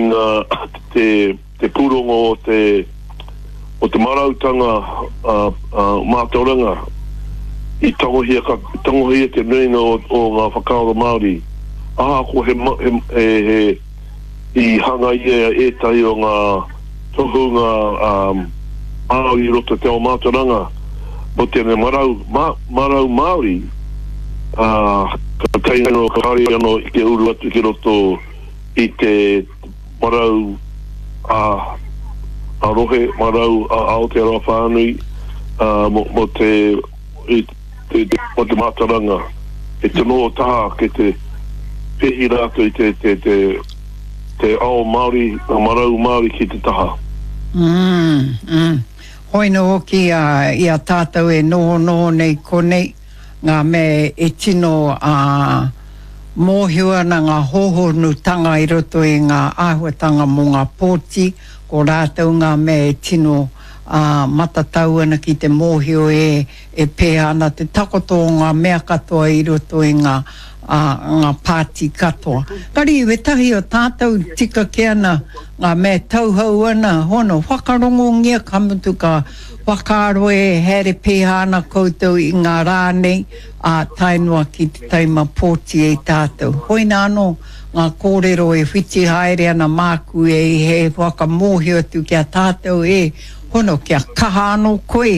i ngā te te pūrongo o te o te marautanga mātauranga i tangohia ka tangohia te nuinga o o ngā whakaaro Māori ahakoa he he he he i hangaia ētahi o ngā tohunga Māori i roto i te ao mātauranga mō tēnei marau marau Māori ā ka tae anō kāore anō i te uru atu ki roto i te marau ā ā rohe, marau ā Aotearoa whānui ā mō mō te i te mō te mātauranga e te noho taha kei te pēhi rātou i te te te te ao Māori, ngā marau Māori ki te taha. Mm, mm. Hoi nō hoki a, i a tātou e nohonoho nei konei, ngā mea e tino ā, mōhio ana ngā hōhonutanga i roto i ngā āhuatanga mō ngā pōti, ko rātou ngā mea e tino ā, matatau ana ki te mōhio e, e pēhea ana te takoto o ngā mea katoa i roto i ngā, ā, ngā pāti katoa. Engari, wētahi o tātou tika kē ana ngā mea e tauhou ana, hono, whakarongongia ka mutu ka whakaaro e haere pēhea ana koutou i ngā rā nei, ā, tae noa ki te taima pōti e tātou. Hoina anō ngā kōrero e whiti haere ana māku e he whakamōhio atu ki a tātou e hono kia kaha anō koe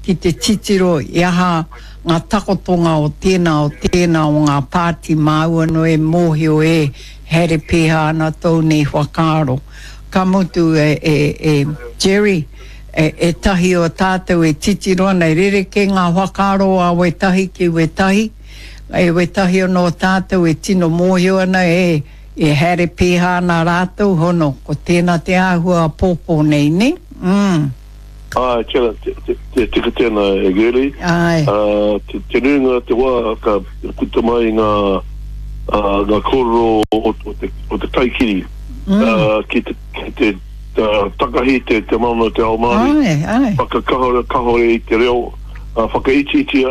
ki te titiro i aha ngā takotonga o tēnā o tēnā o ngā pāti māu anō e mōhio e haere pēhea ana tōu nei whakaaro. Ka mutu e, e, e Jerry, E, ētahi o tātou e titiro ana, e rerekē ngā whakaaro a wētahi ki wētahi, e wētahi anō o tātou e tino mōhio ana, e, e haere pēhā ana rātou, hono, ko tēnā te āhua pōpō nei, nē? Mm. Āe, tēnā, te, te, te tika tēnā e Girlie. Āe. Uh, te, te nuinga o te wā ka puta mai ngā, uh, ngā kōrero o, o, te, o te kaikiri mm. uh, ki te, ki te takahi te te mana o te ao Māori, Āe, āe. whakakahore kahore i te reo, whakaitiiti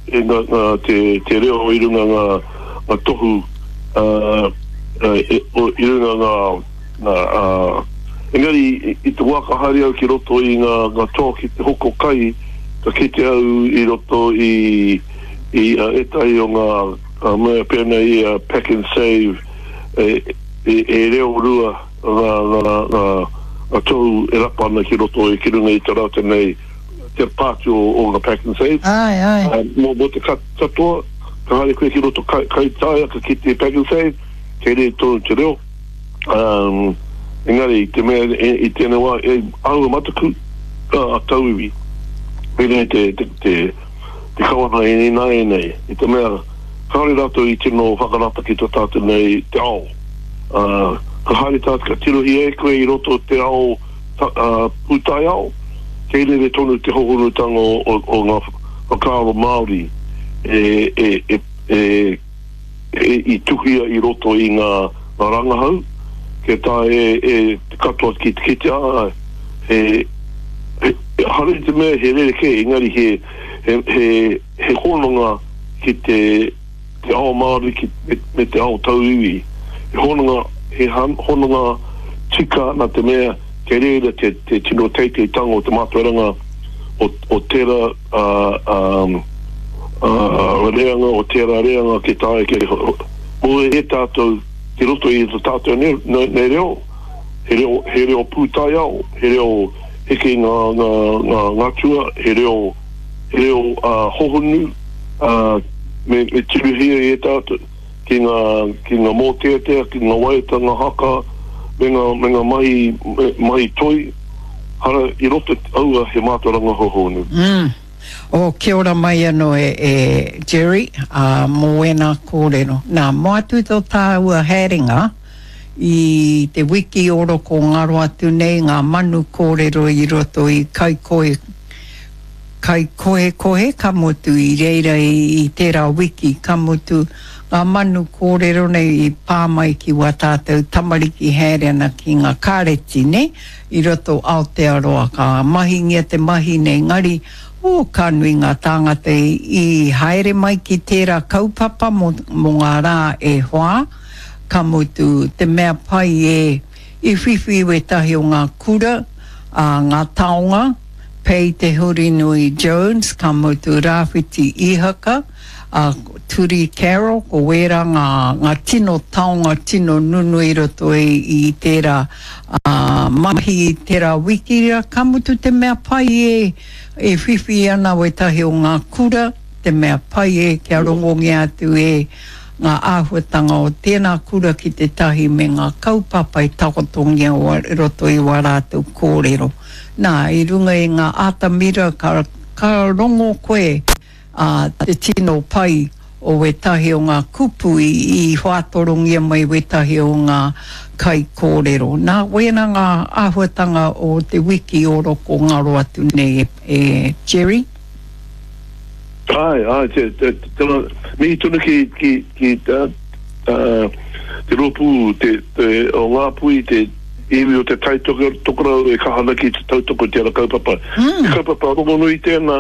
e nga nga te te reo i runga nga nga tohu i runga nga nga engari i te wā ka haere au ki roto i nga nga toa ki te hoko kai ka kite au i roto i i ētahi o nga mea pēnei i a Pack and Save e e reo rua ngā, ngā, ngā, ngā tohu e rapa ana ki roto i, ki runga i te rata nei, te pāti o, o ngā Pack and Save. Āe, āe. Uh, mō, mō te katoa, ka haere koe ki roto kai, Kaitaia, ka kite Pack and Save, kei reira tonu te reo. Um, engari, i te mea, i, i tēnei wā, e āhua mataku, a, a tauiwi, pēnei te, te, te, te kawana i ināianei, i te mea, kāore rātou i tino whakarata ki tō tātou nei te ao. Ā, ka haere tātou, ka tirohia e koe i roto te ao pūtaiao, kei rere tonu te hohonutanga o, o ngā whakaaro Māori e, e, e, e, e, i tuhia i roto i ngā, ngā rangahau, kia taea e, e te katoa ki te kitea, ā, he, he, ehara i te mea he rerekē, engari he, he, he, he hononga ki te, te ao Māori ki, me, me te ao tauiwi. He hononga, he hononga tika nā te mea kei reira te, te tino teiteitanga o te mātauranga o, o tērā uh, um, uh, reanga, o tērā reanga ki taea kia moe e tātou ki roto i to tātou nei, nei, nei reo, he reo, he reo pūtaiao, he reo heke i ngā, ngā, ngā ngatua, he reo he reo hohonu me tirohia e tātou ki ngā, ki ngā mōteatea, ki ngā waiata, ngā haka, me ngā, me ngā mahi, mahi toi, hara i roto aua he mātauranga hohonu. Mm. Oh, kia ora mai anō e, e Jerry, ā, mō ēnā kōrero. Nā, mō atu tō tāua haerenga i te wiki oroko ngaro atu nei ngā manu kōrero i roto i Kaikohe, Kaikohekohe, ka mutu i reira i tērā wiki, ka mutu ngā manu kōrero nei i pā mai ki wā tātou tamariki haere ana ki ngā kāreti, nē, i roto Aotearoa, ka mahingia te mahi nei, engari, oh, ka nui ngā tāngata i haere mai ki tērā kaupapa mō, mō ngā rā e whā, ka mutu te mea pai e. I whiwhi wētahi o ngā kura, ā, ngā taonga, Pei Te Hurinui Jones, ka mutu Rāwhiti Ihaka, ā, Turi Carroll, ko wērā ngā, ngā tino taonga tino nunui i roto i, i tērā, ā, mahi i tērā wiki rā, ka mutu te mea pai e, e whiwhi ana wētahi o ngā kura, te mea pai e kia rongongia atu e ngā āhuatanga o tēnā kura ki te tahi me ngā kaupapa i takotongia i roto i wā rātou kōrero. Nā, i runga i ngā atamira ka, ka rongo koe ā, te tino pai o wētahi o ngā kupu i, i whātorongia mai wētahi o ngā kaikōrero. Nā, wēnā ngā āhuatanga o te wiki o roko ngaro atu nei e, e Jerry. Āe, āe, te, te, te, mihi tonu ki, ki, ki te, uh, te rōpū te, te, o Ngāpuhi, te iwi o te Tai Tokerau e kaha ana ki te tautoko i tērā kaupapa. Mm. He kaupapa rongonui tēnā,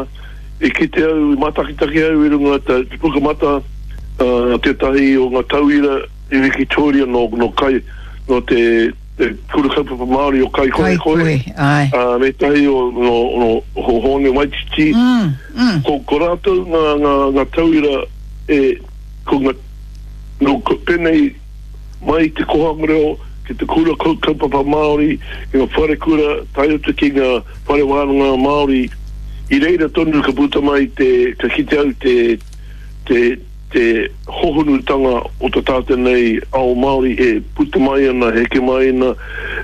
i kite au, i mātakitaki au i runga te, te pukamata, uh, tētahi o ngā tauira i Wikitoria nō, nō kai, nō te, te Kura Kaupapa Māori o Kaikohekohe, Kaikohe, āe. ā, me ētahi o, nō, nō Hōne Waititi. Mm, mm. Ko, ko rātou ngā, ngā, ngā tauira e, ko ngā, nō, ko, pēnei mai i te kohanga reo, ki te Kura Kaupapa Māori, ki ngā wharekura, tae atu ki ngā whare wānanga Māori, i reira tonu ka puta mai te, ka kite au te, te, te hohonutanga o to tātou nei ao Māori e puta mai ana, heke mai ana,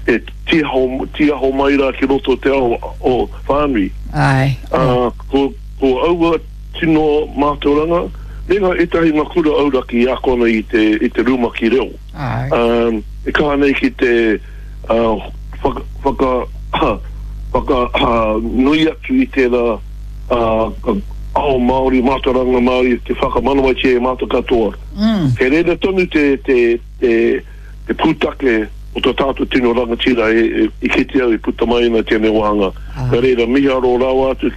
e tiaho, tiaho mai rā ki roto o te ao o whānui. Āe. Ā, ko, ko aua tino mātauranga, me ngā ētahi ngā kura auraki i ako ana i te, i te rumaki reo. Āe. Ā, e kaha nei ki te, ā, whaka, whaka, whaka, nui atu i tērā, ā, ao Māori, mātauranga Māori, te whakamanawatia e mātou katoa. Kei reira tonu te, te, te, te pūtake o tō tātou tino rangatira e, e, i kite au e puta mai ana tēnei wāhanga. Nā reira, miharo rawa atu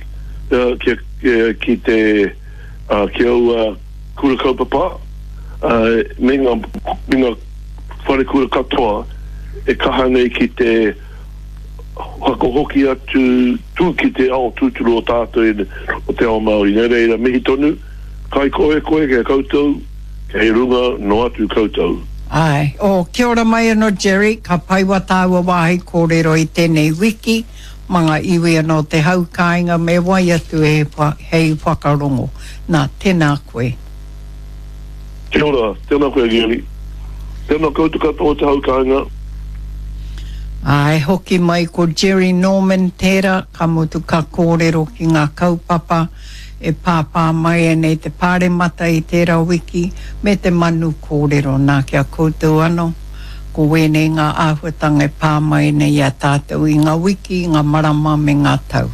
ki, ki, ki te, uh, ki aua kura kaupapa, uh, me ngā, me ngā wharekura katoa e kaha nei ki te whakahoki atu tū ki te ao tūturu o tātou o te ao Māori. Nā reira, mihi tonu, kaikohekohe ki a koutou, kei runga noa atu koutou. Āe. Oh, kia ora mai anō Jerry, ka pai wa tāua wāhi kōrero i tēnei wiki ma ngā iwi anō te hau kāinga me wai atu e hei whakarongo. Nā, tēnā koe. Kia ora, tēnā koe Gary. Tēnā koutou katoa o te hau kāinga. Āe, hoki mai ko Jerry Norman tērā, ka mutu ka kōrero ki ngā kaupapa e pāpā mai ana i te Pāremata i tērā wiki, me te manu kōrero. Nā, ki a koutou anō, ko wēnei ngā āhuatanga e pā mai ana i a tātou i ngā wiki, ngā marama me ngā tau.